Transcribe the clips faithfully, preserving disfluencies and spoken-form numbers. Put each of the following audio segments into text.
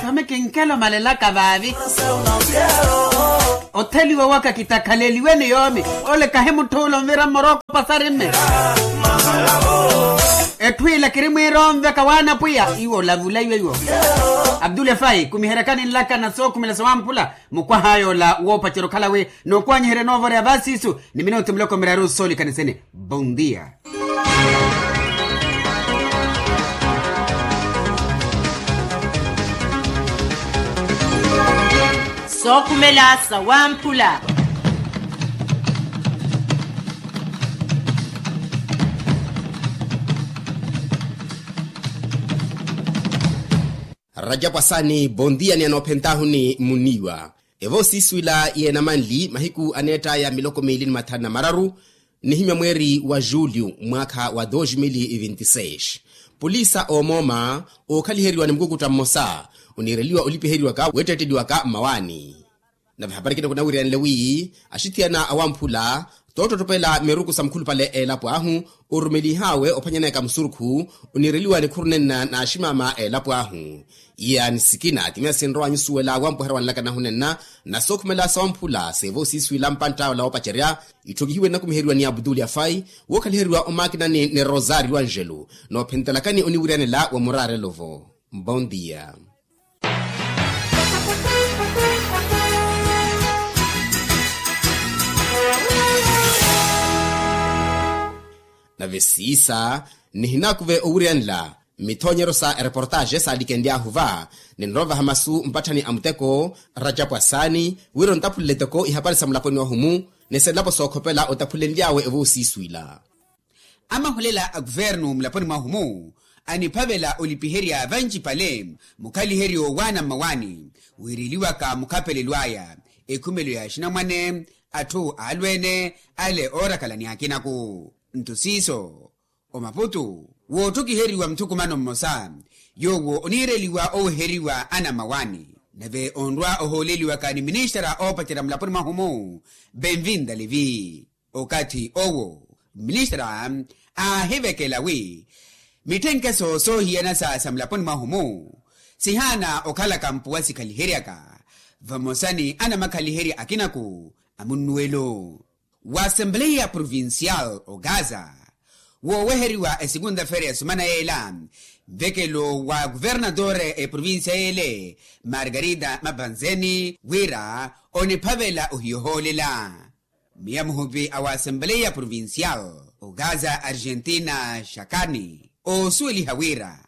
Tome kinkelo malelaka vaavi. Otheliwa waka kitakhaleliwe ni yoomi. Ole kahi mutthu ole onvira mmoroko pasari mme. Etthu ila kiri mwiira onveka waana pwiya iwo olavulaiwe iwo. Abdul efai kumiheryakani nlaka na sookhumela sawamphula. Mukwaha yoola woopacerya okhala wi nookwanyiherya noovorya vaasiisu ni minutu miloko miraru soolikanisene. Bondia. Sookhumela sawamphula. Rajapu asaani bondia ni anoophentahuni muniiwa. Evoosiiswila yeenamanli mahiku aneett'aya miloko miili ni mathanu na mararu, nihimya mweeri wa julyu mwaakha wa dos mil vinti seis. Polisa oomooma ookhaliheriwa ni mukukutta mmosa oniireliwa olipiheriwaka weettetteliwaka mmawaani. Nave hapari ekina kunawiriyanle wi axithiyana awamphula toottottopela miruku sa mukhulupale eelapo ahu orumelihaawe ophanyaneyaka musurukhu oniireliwa nikhuru nenna n'aximaama eelapo ahu. Iya ni sikina ti miya sinrowa nyusuwela wampweherya wanlaka nahu nenna na sookhumela sawamphula seevoosiiswila mpantta ola woopacerya. Itthokihiwe nnakumiheriwa ni abdul afai wookhaliheriwa omaakinani ni rosario angelo noophentelakani oniwiryanela wa muraarelo-vo. Mbondia. Nave siisa nihinakuve owiryanela mithoonyeryo sa ereportaaxe saalikenly'ahu va. Ninrovaha masu mpatthani a muteko rajapu asaani wira ontaphulele toko ihapari sa mulaponi wahu-mu ni selapo sookhopela otaphulenly'awe evoosiiswila. Amahulela a kuvernu mulaponi mwahu-mu aniphavela olipiherya vancipale mukhaliheryo waana mmawaani wiireliwaka mukhapelelo aya ekhumelo ya axinamwane atthu aalweene ale oorakalani akinaku. Nto siiso omaputu woottokiheriwa muthukumano mmosa yoowo oniireliwa oweheriwa ana mmawaani nave onrwa ohooleliwaka ni ministara oopacerya mulaponi mwahu-mu benvinda levi. Okathi owo ministara aahivekela wi mitthenkeso soohiyana sa sa mulaponi mwahu-mu sihaana okhalaka mpuwa sikhaliheryaka vamosa ni anamakhaliherya akinaku a munnuwelo. Wa assembleya provincial ogaza wooweheriwa esekunta-feira ya sumana yeela nvekelo wa kuvernatore eprovincia yeele margarida mapanzeni wira oniphavela ohiya ohoolela. Miya muhupi a wa assembleya provincial ogaza argentina xakani oosuweliha wira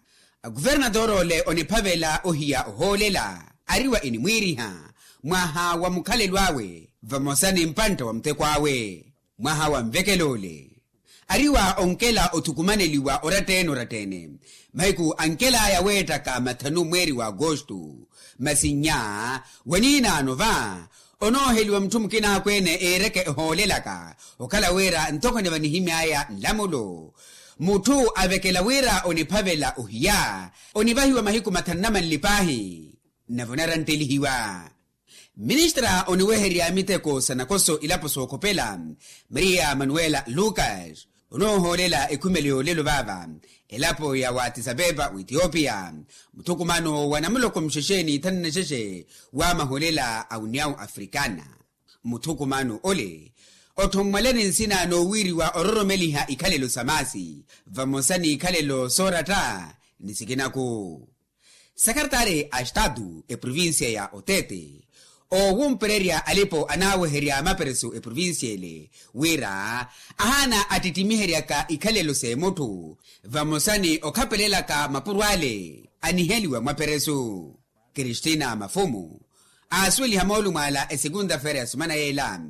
akuvernatore ole oniphavela ohiya ohoolela ari wa inimwiiriha mwaha wa mukhalelo awe vamosa ni mpantta wa muteko awe. Mwaha wa nvekelo ole ari wa onkela othukumaneliwa oratta-ene oratta-ene mahiku ankel'aya weettaka mathanu mweeri wa agosto masi nnya waniinaano va onooheliwa mutthu mukina akweene eereke ehoolelaka okhala wira ntoko ni vanihimy'aya nlamulo mutthu avekela wira oniphavela ohiya onivahiwa mahiku mathanu na manli paahi nave onarantelihiwa. Ministra oniweherya miteko sa nakoso ilapo sookhopela maria manuela lucas onoohoolela ekhumelo yoolelo vaava elapo ya watisapeppa w'ethiopia muthukumano wa namuloko muxexe ni thanu na xexe wa mahoolela a uniyawu africana. Muthukumano ole otthommwalani nsina noowiiriwa ororomeliha ikhalelo sa maasi vamosa n'ikhalelo sooratta ni sikinaku. Sakaratari a estatu eprovincia ya otete oowumpererya alipo anaaweherya mapereso eprovincia ele wira ahaana attittimiheryaka ikhalelo s'emutthu vamosa ni okhapelelaka mapuro ale aniheliwa mwapereso. Kristina mafumu aasuweliha moolumo ala esekunta-feira ya sumana yeela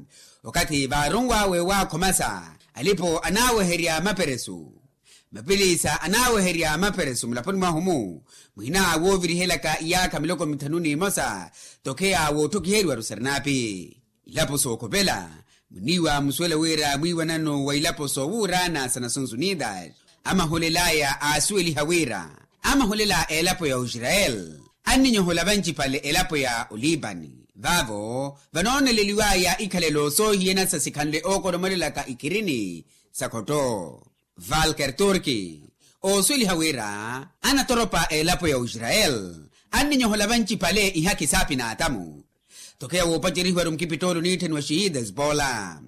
okathi vaarunw'awe waakhomasa alipo anaaweherya mapereso mapiliisa anaaweherya mapereso mulaponi mwahu-mu mwina woovirihelaka iyaakha miloko mithanu n'imosa tokheya wootthokhiheriwa rusarinapi. Ilapo sookhopela muniiwa musuwela wira mwiiwanano wa ilapo soowuuraana sa nations unidas amahulel'aya aasuweliha wira amahulel'aya elapo ya oisrayeli anninyohola vancipale elapo ya olipani Vaavo vanooneleliwaya ikhalelo soohiyana sa sikhanle ookolomelelaka ikhirini sa khotto. Valker turki oosuweliha wira anatoropa a elapo ya oisrayeli anninyohola vancipale ihaki saapi n'atamu. Tokeya woopacerihiwa-ru mukipittoolo niitthaniwa xiida espola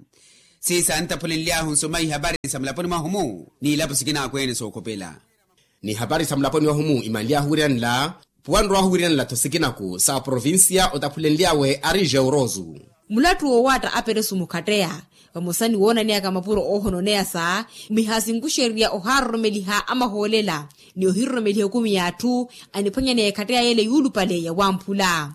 siisa antaphulenly'ahu nsuma ihapari sa mulaponi mwahu-mu n'ilapo sikinaaku-ene sookhopela. N'ihapari sa mulaponi wahu-mu imanly'ahu wiiranla puwanrw'ahu wiiranla-tho sikinaku sa provincia otaphulenly'awe ari jeurosu. Mulattu woowaatta aperesu mukhatteya vamosa ni woonaneyaka mapuro oohononeyasa mihasinkuxerya ohaaroromeliha amahoolela ni ohiroromeliha ekumi y'atthu aniphwanyaneya ekhatteya y'ele yuulupale ya wamphula.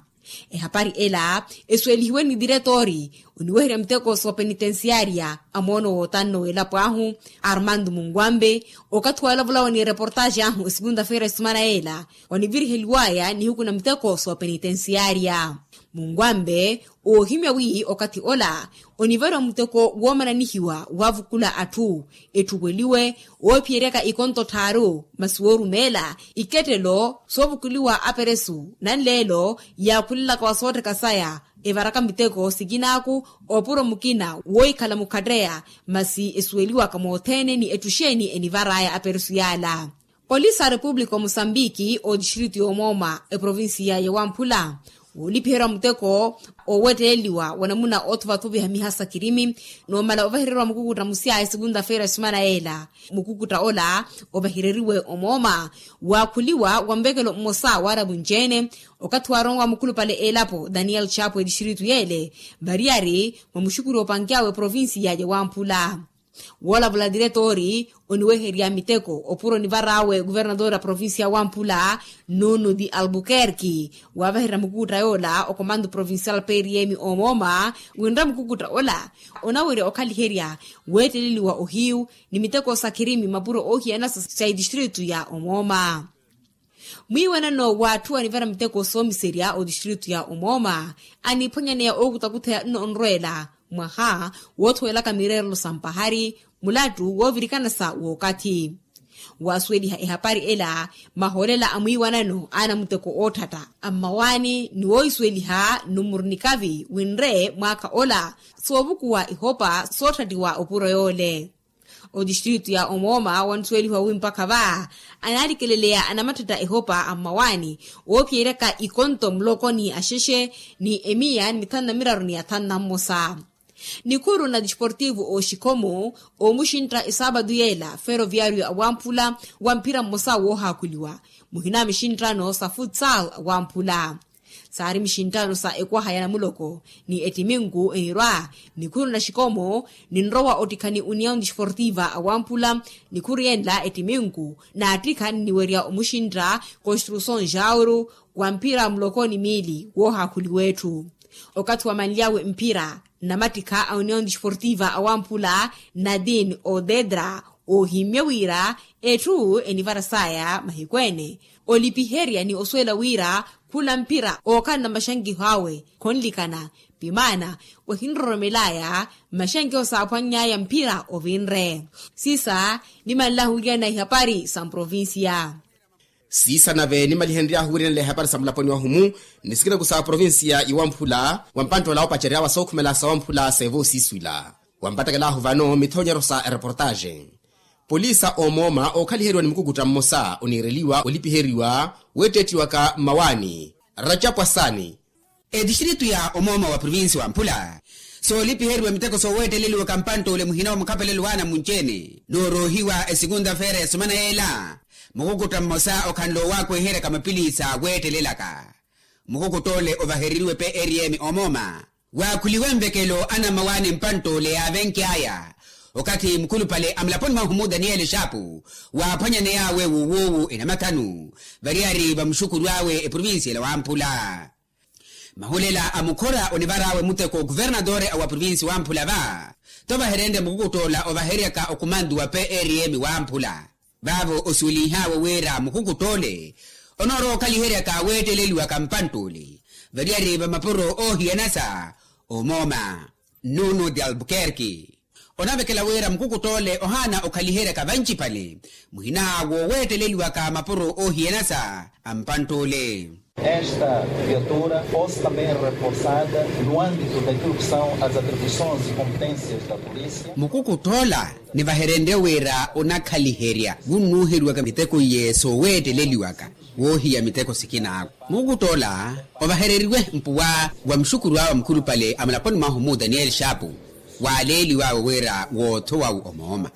Ehapari ela esuwelihiwe ni diretoori oniweherya miteko soopenitensiyaariya a moono wootanno w'elapo ahu armando munguambe okathi walavulawa ni ereportaaxi ahu esukunta feira esimana y'ela oniviriheliwaya nihiku na miteko soopenitensiyaariya. Munguambe oohimya wi okathi ola onivariwa muteko woomananihiwa waavukula atthu etthuweliwe woophiyeryaka ikonto tthaaru masi woorumeela ikettelo soovukuliwa aperesu nanleelo yaakhulelaka wa soottheka saya evaraka miteko sikinaaku opuro mukina woohikhala mukhatteya masi esuweliwaka mothene ni etthu xeeni enivar'aya aperesu yaala. Polisi a repupulika omusambiki otistritu y'omooma eprovinsiya ya wamphula woolipiheriwa muteko oowetteleliwa wa namuna oothuvathuviha miha sa kirimi noomala ovahereriwa mukukutta musya esikunta feira esimana y'ela. Mukukutta ola ovahereriwe omooma waakhuliwa wa muvekelo mmosa waaravu nci-ene okathi waaronwa mukhulupale elapo daniel chapo etistritu y'ele variyari mwa muxukuri oopanky'awe provinsiya ya wamphula. Woolavula diretoori oniweherya miteko opuro nivar'awe kuvernatoori a provinsiya ya wamphula nuno di albuquerque waavaherya mukukutta yoola okomando provincial prm omooma winre mukukutta ola onawerya okhaliherya weetteleliwa ohiyu ni miteko sa khirimi mapuro oohiyana sa itistritu ya omooma. Mwiiwanano w'atthu anivara miteko soomiserya otistritu ya omooma aniphwanyaneya ookutakutheya nno onrweela mwaha woothowelaka mireerelo sa mpahari mulattu woovirikana sa wookathi. Waasuweliha ehapari ela mahoolela a mwiiwanano a anamuteko ootthatta a mmawaani ni woohisuweliha numuru nikavi winre mwaakha ola soovukuwa ihopa sootthattiwa opuro yoole. Otistritu ya omooma wansuwelihiwa wi mpakha va anaalikeleleya anamatthetta ehopa a mmawaani oophiyeryaka ikonto muloko ni axexe ni emiya ni mithanu na miraru ni athanu na mmosa. Nikhuru na disportivu ooxikhomo oomuxintta esaapatu yeela feroviario awamphula wa mphira mmosa woohaakhuliwa muhina mixinttano sa futsal awamphula. Saari mixinttano sa ekwaha ya namuloko ni ettiminku enirwa nikhuru na xikomo ninrowa ottikha ni uniyaw disportiva awamphula. Nikhuru yenla ettiminku naattikha nniwerya omuxintta construson jauru wa mphira muloko ni miili woohaakhuliwa etthu. Okathi wamanly'awe mphira nnamattikha a uniyaw disportiva awamphula nadin odedra oohimmye wira etthu enivarasaya mahiku ene olipiherya ni osuwela wira khula mphira ookhalana maxankiho awe khonlikana pimaana wahinroromelaya maxankiho saaphwanny'aya mphira ovinre. Sisa nimanlahu wiryana ihapari sa mprovinsiya. Sisa nave nimalihenry'ahu wiryana ihapari sa mulaponi wahu-mu ni sikinaku sa provinsiya iwamphula wa mpanttoola oopacery'awe sookhumela sawamphula seevoosiswila wampattekel'ahu vano mithoonyeryo sa ereportaaxe. Polisa oomooma ookhaliheriwa ni mukukutta mmosa oniireliwa olipiheriwa weettettiwaka mmawaani racapwa saani. Etistritu ya omooma wa provinsi wa mphula soolipiheriwa miteko sooweetteleliwaka mpantt'ule muhina wa mukhapelelo w'anamunci-ene nooroohiwa esikunta feera ya sumana yeela. Mukukutta mmosa okhanle owaakweheryaka mapiliisa weettelelaka mukukutt'ole ovahereriwe prm omooma waakhuliwe nvekelo anammawaani mpantt'ole yaavenky'aya. Okathi mukhulupale a mulaponi mwahu-mu daniyeli xaapu waaphwanyaney'awe wuuwuuwu enamathanu variyari va muxukuru awe eprovinsiyela wamphula. Mahulela a mukhora onivar'awe muteko kuvernatore a wa provinsi wamphula va tovaherenrye mukukutt'ola ovaheryaka okumantu wa prm wamphula. Vaavo osuweliih'awe wira mukukutt'ole onoorowa okhaliheryaka weetteleliwaka mpantt'ole variyari va mapuro oohiyana sa omooma nuno de albuquerque. Onavekela wira mukukutt'ole ohaana okhaliheryaka vancipale muhina wooweetteleliwaka mapuro oohiyanasa a mpantt'ule. Esta viatura fosse também reforçada no âmbito daquilo que são as atribuições e competências da polícia. Mukukutt'ola nivaherenrye wira onakhaliherya wunnuuheriwaka miteko iye sooweetteleliwaka woohiya miteko sikina awe. Mukukutt'ola ovahereriwe mpuwa wa muxukuru awe mukhulupale a mulaponi mwahu mu daniyeli xaapu waaleeliwe awe wira woothowa awe omooma.